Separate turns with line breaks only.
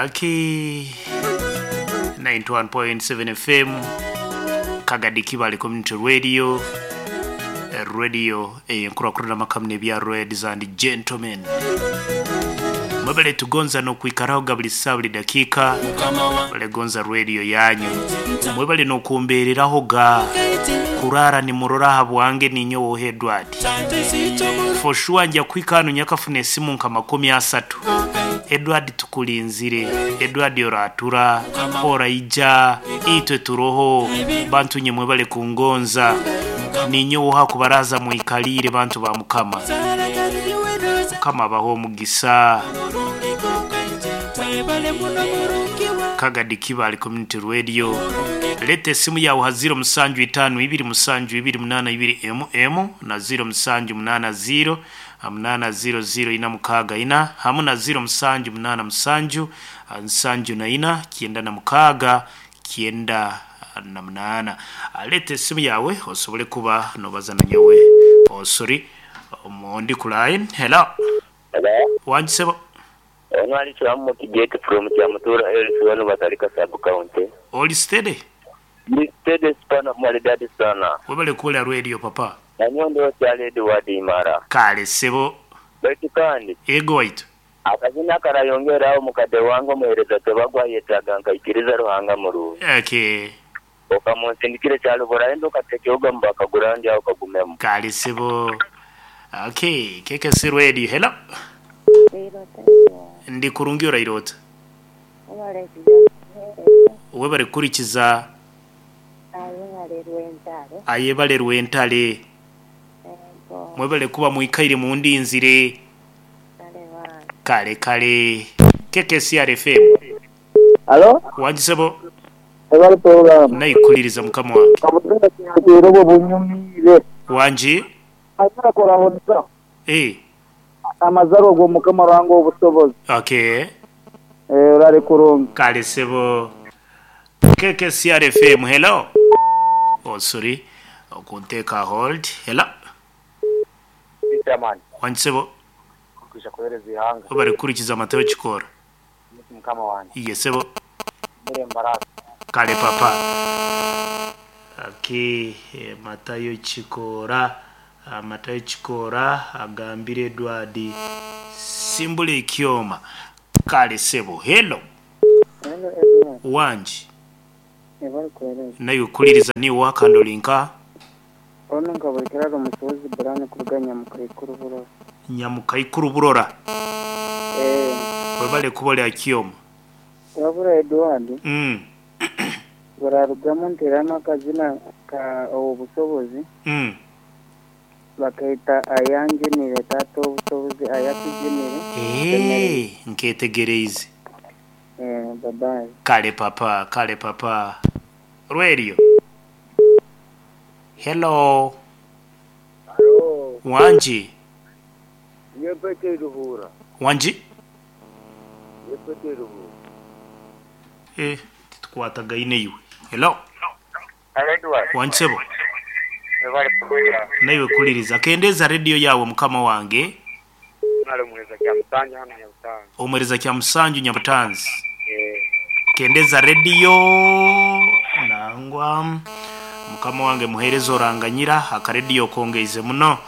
Aki 91.7 FM Kagadi Kibale Community Radio Radio eyenkurakurana amakamu n'ebya Ladies and Gentlemen mwebale tugonza n'okwikaraho buli saa buli dakiika bale gonza radio yanyu mwebale n'okumbeereraho ga kurara nimurora aha bwange ninyowe Edward for sure nja kuhika hanu nyakafuna esimu nka 30. Edward tukulinzire, Edward oratura oraija itwe turoho bantu nye mwebale kungonza ninyowe ha kubaraza mwikalire bantu ba Mukama. Mukama abaho omugisa. Kagadi Kibale Community Radio. Leta esimu yawe ha 0752 728 mm na 0780 800 hamu na 0787 74 98. Leta esimu yawe osobole kuba nobaza na nyowe. Oh, sorry, omundi ku line. Hello.
Hello.
Wangisebo.
Ono ali Kiramu Kigate from Kyamutura Health wano Batalika sub county.
Oli steady?
Ndi steady sana maridadi sana.
Webale kuwulira radio papa.
Nanyondo kyali Edward Imara.
Kale sebo.
Baitu kandi
Ego waitu.
Akazina karayongeraho mukadde wange omuheereza tebagwa yetaaga nkaikiriza Ruhanga murungi.
Okay.
Okamunsindikire kyalo buraenda okatekeoga mubakagura ndi aho kagumemu.
Kale sebo. Okay, KKC Radio. Hello. Ndi kurungi orairota. Webale kurikiza ayebale rwentale. Mwebale kuba mwikaire mundinzire. Kale kale. KKC FM.
Alo?
Wangisebo.
Ebali program.
Nayikuliriza mukama wange.
Kabutenda kyero bunyumire.
Wangi?
Azira korahonza.
Eh.
Amazaro go mukama wange obusobozi.
Okay.
Eh, urari kurungi.
Kale sebo. KKCR FM. Hello. Oh, sorry. Okunteka hold. Hello.
Chairman,
Wangisebo.
kwisha kuhereza ihanga
Webale kurikiza Mateo Chikora.
mukama wange
Iye sebo.
mere mbarasi.
Kale papa. Okay, Matayo Chikora. Matayo Chikora agambire Edward simbule ikyoma. Kale sebo. Hello.
Hello Edward.
Wangi.
Ebali kuhereza.
Nayo kuliriza ni wakandolinka
Ono nkabulikira omusobozi Brian kuruga Nyamukaikuru burora.
Nyamukaikuru burora.
Eh,
Webale kubolya kyoma.
wabura Edward burarugamu nteramu akazina ka obusobozi. Bakaita ayanjinire tata obusobozi ayatujinire.
Eh, nketegereize.
Eh, babayi.
Kale papa, kale papa. Radio. Hello.
Alo,
Wanji.
nyepete ruhura.
Wanji?
Nyepete ruhura.
Eh, titukwatagaine iwe. Hello.
Hello Edward.
Wangisebo.
Ebali program.
Naiwe kuliriza. Kendeza radio yawe mukama wange.
Nalo muheza kya Musanju hano Nyabutanzi.
Omwereza kya Musanju Nyabutanzi.
Eh,
Kendeza radio nangwa mukama wange muhereza oranganyira akarediyo kongeize muno.